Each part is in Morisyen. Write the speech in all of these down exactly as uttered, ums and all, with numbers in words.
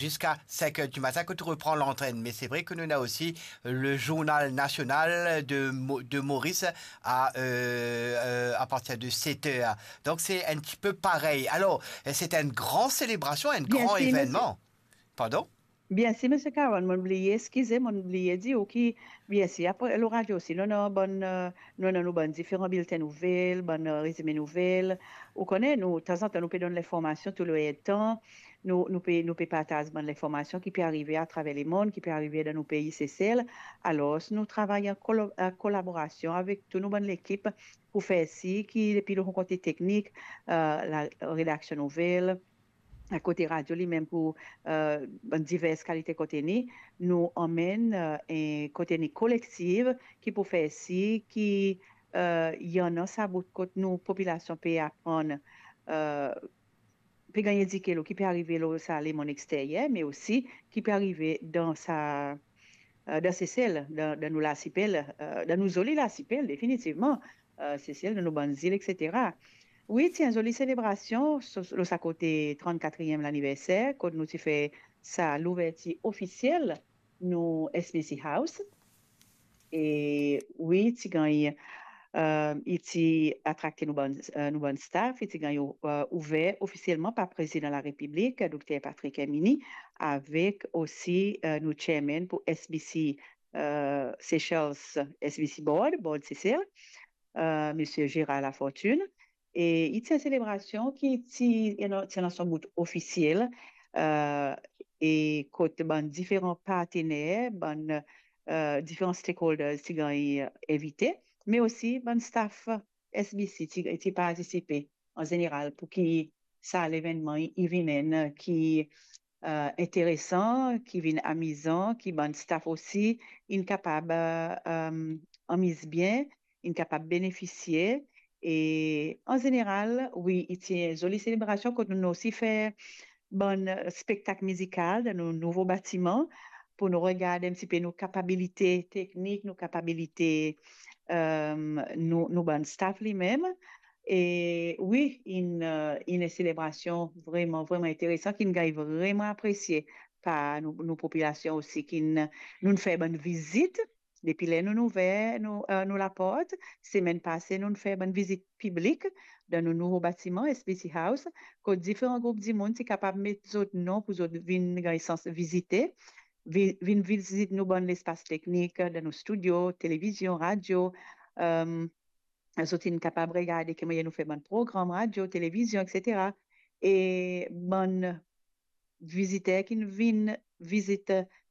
jusqu'à cinq heures du matin quand tu reprends l'antenne. Mais c'est vrai que nous avons aussi le journal national de, Mo- de Maurice à, euh, euh, à partir de sept heures. Donc c'est un petit peu pareil. Alors, c'est une grande célébration, un Bien grand sûr, monsieur. Événement. Pardon? Bien sûr, monsieur Caron, mo'nn bliye, excusez, mo'nn bliye dir ou ki, bien sûr, apre, lor radio osi, nou ena bann, euh, nou ena nou bann diferan bilten nouvel, bann, euh, rezime nouvel. Ou kone, nou, tanzantan, nou pe donn linformasion tou le tan. Nou, nou pe, nou pe partaz bann linformasion ki pe arive atraver lemond, ki pe arive dan nou pei Sesel. Alor, nou travay an kolo-, an kolaborasion avek tou nou bann lekip pou fer sir ki depi nou kote teknik, euh, la redaksion nouvel, kote radio limem pou, euh, bann divers kalite konteni, nou anmenn, euh, en konteni kolektif ki pou fer sir ki, euh, ena sa bout kot nou popilasion pe aprann, euh, pe gagn edike lor ki pe arive lor sa lemond exteryer, me osi ki pe arive dan sa, euh, dan Sesel, dan, dan nou lasipel, euh, dan nou zoli lasipel, definitivman, euh, Sesel, dan nou bann zil, et cetera. Wi, ti enn zoli selebrasion so-, lor sa kote trannkatriem laniverser, kot nou ti fer sa louvertir ofisiel nou S B C House. E wi, ti gagn, euh, li ti atrakte nou bann, euh, nou bann staff, li ti gagn, euh, ouver ofisielman par Prezidan Larepiblik, Dokter Patrick Herminie, avek osi, euh, nou chairman pou S B C, euh, Seychelles, S B C Board, Board Seychelles, euh, Monsieur Gérard Lafortune. E li ti enn selebrasion ki ti, you know, ti ena son bout ofisiel, euh, e kot bann diferan partener, bann, euh, diferan stakeholders ti gagn, euh, invite, me osi bann staff S B C ti, ti partisipe an zeneral pou ki sa levennman li, li vinn enn ki, euh, interesan, ki vinn amizan, ki bann staff osi inn kapab, euh, euh, amiz bien, inn kapab benefisie. E an zeneral, wi, li ti enn zoli selebrasion kot nou osi fer bann, euh, spektak mizikal dan nou nouvo batiman pou nou regard enn tipe nou kapabilite teknik, nou kapabilite, euh, nou, nou bann staff limem. E wi, inn, euh, inn enn selebrasion vreman, vreman interesan, ki inn gagn vreman apresie par nou, nou popilasion osi, ki inn, nou'nn fer bann vizit. Depi ler nou'nn ouver nou, euh, nou laport, semenn pase, nou'nn fer bann vizit piblik dan nou nouvo batiman, S B C House, kot diferan group dimoun ti kapab met zot non pou zot vinn gagn sans vizite, vi-, vinn vizit nou bann lespas teknik, dan nou studio, televizion, radio, euh, zot inn kapab regarde ki mannyer nou fer bann program radio, televizion, et cetera. E bann viziter ki vinn vizit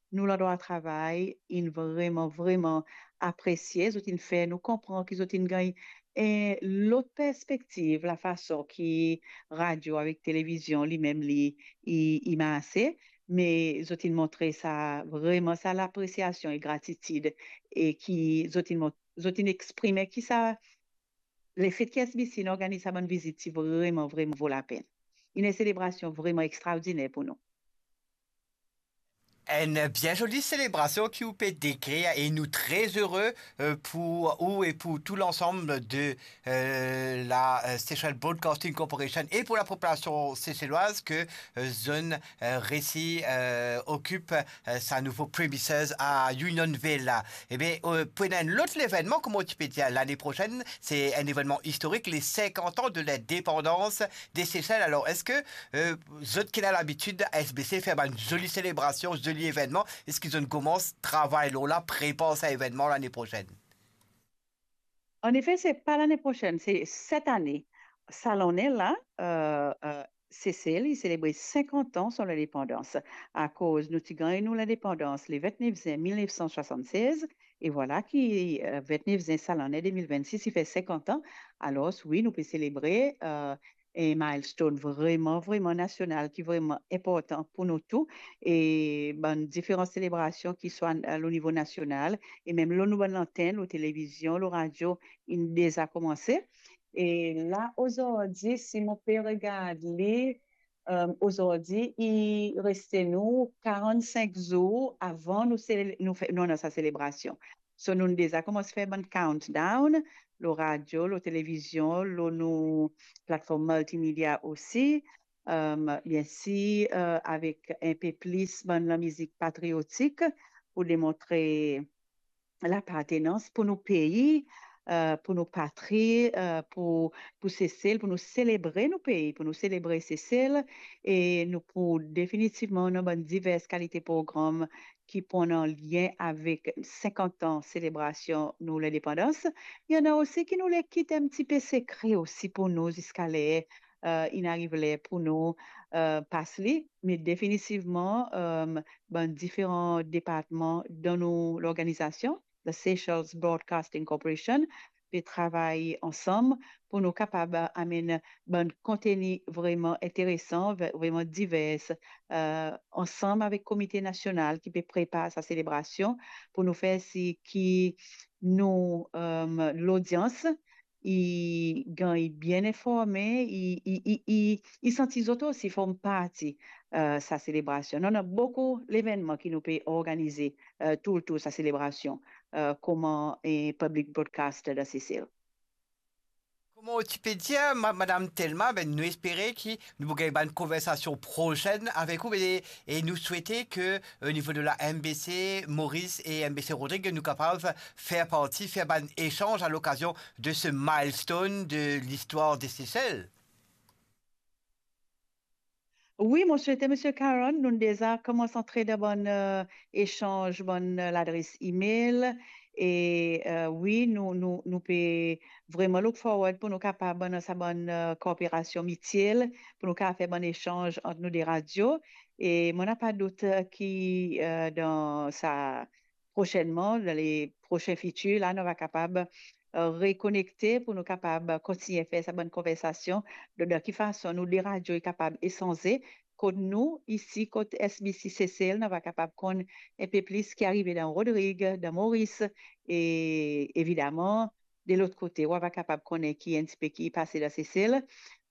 nou landrwa travay, inn vreman, vreman apresie. Zot inn fer nou konpran ki zot inn gagn enn lot perspektiv, lafason ki radio avek televizion limem li, li, li marse, me zot inn montre sa, vreman sa lapresiasion e gratitid, e ki zot inn mont-, zot inn exprime ki sa, lefet ki S B C inn organiz sa bann vizit, ti vreman, vreman vo lapenn. Inn enn selebrasion vreman extraordiner pou nou. Une bien jolie célébration qui vous peut décrire et nous très heureux, euh, pour vous et pour tout l'ensemble de, euh, la, euh, Seychelles Broadcasting Corporation et pour la population seychelloise que, euh, zot inn, euh, réussi, euh, occupe, euh, sa nouvo premises à Unionville la. Eh bien, euh, pour un autre événement, comme tu peux dire, l'année prochaine, c'est un événement historique, les cinquante ans de l'indépendance des Seychelles. Alors, est-ce que, euh, zot ki ena labitid S B C fer bann zoli selebrasion, zoli evenman, eski zot inn koumans travay lor la, prepar sa evenman lane prosenn? Annefe, se pa lane prosenn, se set ane. Sa lane la, euh, euh, Sesel, li selebre sinkant an son lindepandans. Akoz nou ti gagn nou lindepandans le ventnef zin mil nef san swasann-sez, e vwala ki, euh, ventnef zin sa lane de mil vennsis, li fer sinkant an. Alor, wi, nou pe selebre, euh, en milestone vreman, vreman nasional ki vreman inportan pou nou tou. E bann diferan selebrasion ki swa, euh, lor nivo nasional e mem lor nou bann lantenn, lor televizion, lor radio, inn deza koumanse. E la, ozordi, si mo pe regard li, euh, ozordi, li reste nou karannsink zour avan nou sele-, nou fe-, nou ena sa selebrasion. So, nou deza koumans fer bann countdown, lor radio, lor televizion, lor nou platform multimedia osi. euh, bien sûr, euh, avec un peu plus bann lamizik patriotik pour démontrer lapartenans pour nos pays, euh, pour nos patries, euh, pour, pour Seychelles, pour nous célébrer nos pays, pour nous célébrer Seychelles, et nous pour définitivement, nou bann divers qualités programmes qui pour en lien avec cinquante ans célébration nou lindepandans. Il y en a aussi qui nous les quittent un petit peu secret aussi pour nous jusqu'à l'air, euh, il arrive l'air pour nous, euh, pas li, mais définitivement, euh, bann diferan departman dan nou lorganizasyon, the Seychelles Broadcasting Corporation, pe travay ansam pour nou kapab amenn bann konteni vreman interesan, vre-, vreman divers, euh, ansam avek Komite Nasional ki pe prepar sa selebrasyon, pour nou fer sir ki nou, euh, lodians i gagn bien informe, i, i, i, i, i santi zot osi form parti, euh, sa selebrasyon. Nou ena boukou levennman ki nou pe organize, euh, tou letour sa selebrasyon, euh, kouma, eh, public broadcaster dan Sesel. Kouma ou ti pe dir, ma-, Madam Thelma, be, nou espere ki nou pou gagn bann konversasyon prosenn avek ou, be, e nou swete ke, o nivo de la M B C Maurice e M B C Rodrigues, nou kapav fer parti, fer bann esanz a lokazion de se milestone de listwar de Sesel. Wi, mo swete, Misie Caron, nou deza koumans antre dan bann, eh, esanz, bann, eh, ladres email. E, eh, wi, nou, nou, nou pe vreman look forward pou nou kapav dan sa bann, eh, kooperasion mitiel, pou nou kapav fer bann esanz ant nou de radio. E mo napa dout, eh, ki, eh, dan sa prosennman, dan le prosin fitir, la, nou va kapab, eh, rekonekte pou nou kapab kontign fer sa bann konversasion, de, de ki fason nou de radio e kapab esanze, kot nou, isi, kot S B C Sesel, nou va kapab konn enpe plis ki arive dan Rodrig, dan Moris, e evidaman, de lot kote, ou va kapab konnen ki enn tipe ki pase dan Sesel.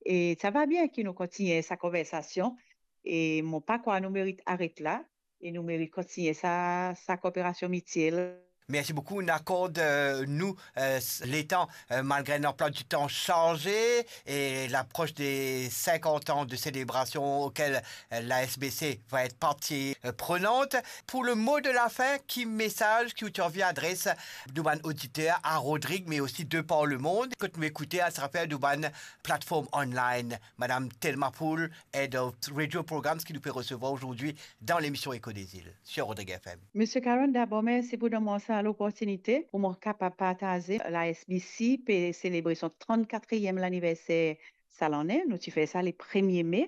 E sa va bien ki nou kontign sa konversasion, e mo pa krwar nou merit aret la, e nou merit kontign sa, sa kooperasion mitiel. Merci beaucoup. Nou akord, eh, nou, eh, s-, letan, eh, malgre un emploi du temps chargé et l'approche des cinquante ans de célébration auxquelles, eh, la S B C va être partie, eh, prenante. Pour le mot de la fin, ki mesaz ki ou ti anvi adres nou bann oditer a Rodrig, mais aussi de par le monde, kot nou ekoute atraver nou bann platform online? Madam Thelma Pool, Head of Radio Programs, ki nou pe resevwar ozordi dan lemision Echo des Îles sur Rodrig F M. Misie Caron, dabor, mersi pou donn mwa sa loportinite pou mwa kapab partaze. La S B C pe selebre son trannkatriem laniverser sa lane. Nou ti fer sa le premie me,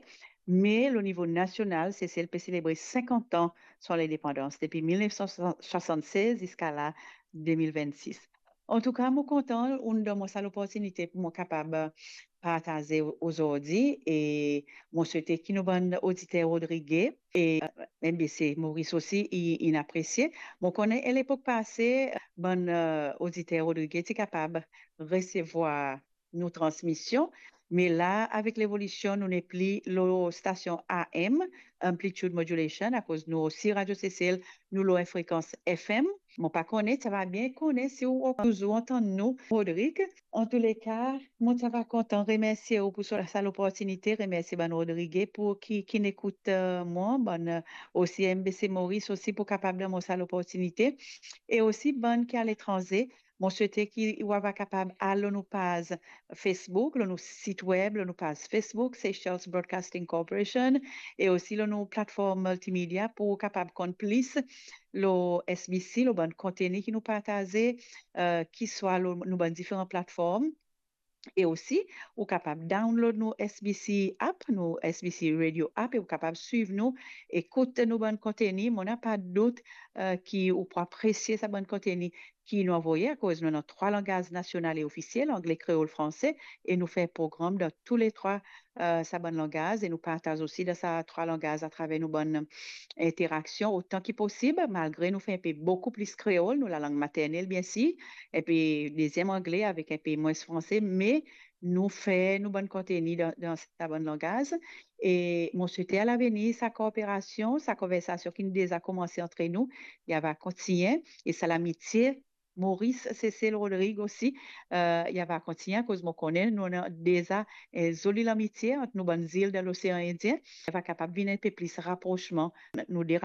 me o nivo nasional, Sesel pe selebre sinkant an son lindepandans, depi mil nef san swasann-sez ziska la, de mil vennsis. Antouka, mo kontan ou'nn donn mwa sa loportinite pou mwa kapab, eh, partaze ozordi, e mo swete ki nou bann oditer Rodrig e, eh, M B C Maurice osi, i, inn apresie. Mo konnen, a lepok pase, bann, eh, oditer Rodrig ti kapab resevwar nou transmision, me la, avek levolision, nou nepli lor stasion A M, amplitude modulation, akoz nou osi, Radio Sesel, nou lor frekans F M. Mo pa konnen, ti ava bien konnen si ou touzour antann nou, Rodrig. Antouleka, mo ti ava kontan remersie ou pou sa, sa loportinite, remersie bann Rodrig e pou ki, ki'nn ekout, eh, mwa, bann, eh, osi M B C Maurice osi pou kapab donn mwa sa loportinite, e osi bann ki aletranze. Mo swete ki ou ava kapab al lor nou paz Facebook, lor nou sit web, lor nou paz Facebook, Seychelles Broadcasting Corporation, e osi lor nou platform miltimedia pou ou kapab konn plis lor S B C, lor bann konteni ki nou partaze, eh, ki swa lor nou bann diferan platform. E osi, ou kapab download nou S B C app, nou S B C Radio app, e ou kapab swiv nou, ekout nou bann konteni. Mo napa dout, eh, ki ou pou apresie sa bann konteni ki nou anvoye, akoz nou ena trwa langaz nasional e ofisiel, angle, kreol, franse, e nou fer program dan tou le trwa, eh, sa bann langaz, e nou partaz osi dan sa trwa langaz atraver nou bann interaksion otan ki posib, malgre nou fer enpe boukou plis kreol, nou lalang maternel, biensir, enpe deziem angle avek enpe mwins franse, me nou fer nou bann konteni dan, dan sa bann langaz. E mo swete a lavenir, sa kooperasion, sa konversasion ki'nn deza koumanse antre nou, li ava kontigne, e sa lamitie Moris, Sesel, Rodrig osi, eh, li ava kontigne, akoz mo konnen nou ena deza enn zoli lamitie ant nou bann zil dan Losean Indien. Li ava kapav vinn enn pe plis raprosman nou de